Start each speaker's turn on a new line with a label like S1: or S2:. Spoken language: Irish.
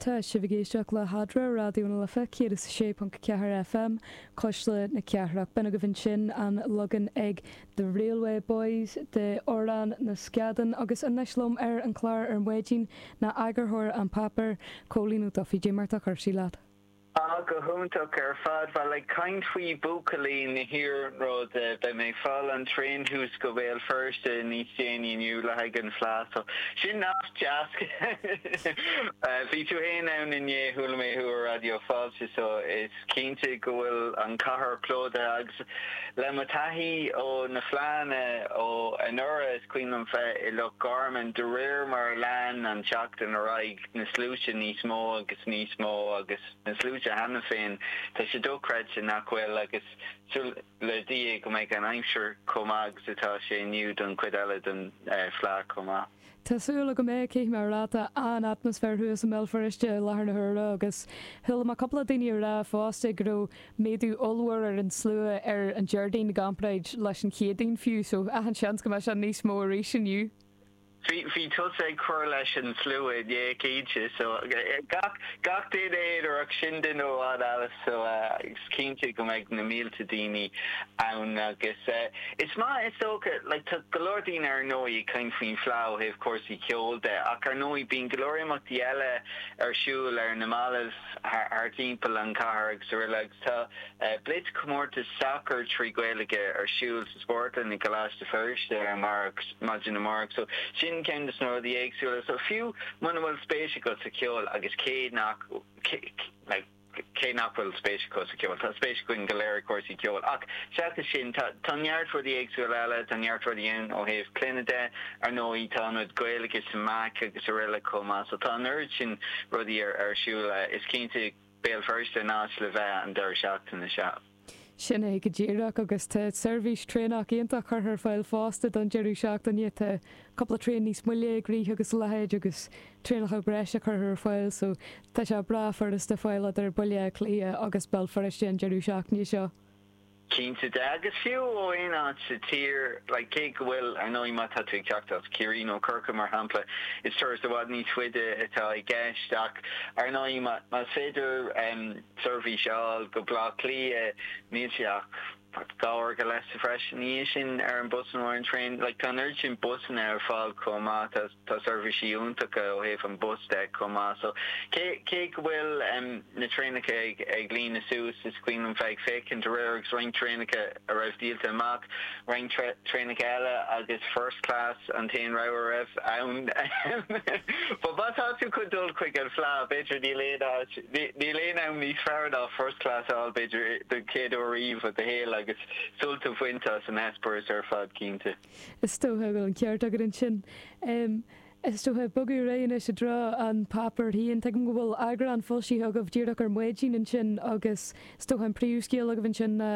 S1: Tá sibh ag éisteacht le hEadra, Raidió na Life 106.4 FM, Cuisle na Cathrach. B'in agaibh ansin an leagan ag The Railway Boys de Amhrán na Scadán agus anois liom ar an chlár ar maidin ná eagarthóir An Páipéar, Cóilín Ó Dufaigh. Dé mar tá cúrsaí leat?
S2: Ah, go hiontach ar fad. Bhuel, ag caint faoi buachaillí na hiarnróid, beidh mé ag fáil an traein thuas go Béal Feirste níos déanaí inniu le haghaidh an Fleadh, so sin nasc deas. Bhí tú fhéin ann inné, chuala mé thú ar Raidió Fáilte, so is cinnte go bhfuil an cathair plódaithe agus le mo taithí ó na Fleadhanna ó anuraidh, is cuimhin liom bheith i Loch Garman, de réir mar a lean an tseachtain ar aghaidh, na sluaite níos mó agus níos mó agus na sluaite cheana féin, tá sé dochreidte nach bhfuil agus súil le Dia go mbeidh an aimsir chomh maith agus atá sé inniu don chuid eile den Fhleadh chomh maith.
S1: Tá súil agam é, caithfidh mé a rá, tá an-atmaisféar thuas i mBéal Feirste i láthair na huaire agus chuala mé cúpla daoine ag rá fosta go raibh méadú ollmhór ar an slua ar an Déardaoin i gcomparáid leis an Chéadaoin fiú, so achan seans go mbeidh sé níos mó arís inniu.
S2: Bhí tusa ag cur leis an slua inné, cinnte. So, gach, gach duine aonarach, sin duine amháin Alice. So, is cinnte go mbeidh na mílte daoine ann agus is maith is dócha, like, tá go leor daoine ar ndóigh ag caint faoin Fleadh ó thaobh cúrsaí ceoil de ach ar ndóigh bíonn go leor imeachtaí eile ar siúl ar na mallaibh thar timpeall an chathair agus araile agus tá blitz comórtas sacair 3 Gaeilge ar siúl sa Spórtlann i gColáiste Feirste ar amárach, maidin amárach. So sin ceann de na rudaí éagsúla. So fiú muna bhfuil spéis agat sa cheol agus cé nach like cé nach bhfuil spéis acu sa cheol, tá spéis againn go léir i gcúrsaí ceoil. Ach seachas sin, tá tá neart rudaí éagsúla eile, tá neart rudaí ann ó thaobh clainne de, ar ndóigh tá ionad Gaeilge sa MAC agus araile chomh maith. So tá an oiread sin rudaí ar ar siúl. Is cinnte Béal Feirste an áit le bheith an deireadh seachtaine seo.
S1: Sin é go díreach, agus tá seirbhís traenach iontach curtha ar fáil fosta don deireadh seachtaine. Tá cúpla traein níos moille ag rith agus a leithéid agus traenacha breise curtha ar fáil so tá sé breá furasta fáil idir Baile Átha Cliath agus Béal Feirste an deireadh seachtaine seo.
S2: Cinnte de, agus fiú ó aon áit sa tír, like, cé go bhfuil, ar ndóigh, má tá tú ag teacht as Ciarraí nó Corcaigh, mar shampla, is turas i bhfad níos faide atá i gceist, ach ar ndóigh, más féidir seirbhís a fháil go Baile Átha Cliath, níl sé ach 2 uair go leith sa bhreis ina dhiaidh sin ar an bus nó ar an traein. Like, tá an oiread sin busanna ar fáil chomh maith, tá, tá seirbhísí iontacha ó thaobh an bus de chomh maith. So, cé, cé go bhfuil na traenacha ag, ag líonadh suas, is cuimhin liom bheith ag féachaint aréir agus roinnt traenacha a raibh díolta amach, roinnt traenacha eile agus first class an t-aon rogha a raibh ann. But má tá tú chun dul chuig an Fleadh, b'fhéidir níl aon áit, níl aon am níos fearr ná first class a fháil b'fhéidir don chéad uair riamh i do shaol agus sult a bhaint as an eispéireas ar fad cinnte.
S1: Is dócha go bhfuil an ceart agat ansin. Is dócha, bogadh ar aghaidh anois i dtreo an páipéir féin. Tuigim go bhfuil eagrán foilsithe agaibh díreach ar maidin ansin agus is dócha an príomhscéal agaibh ansin ná.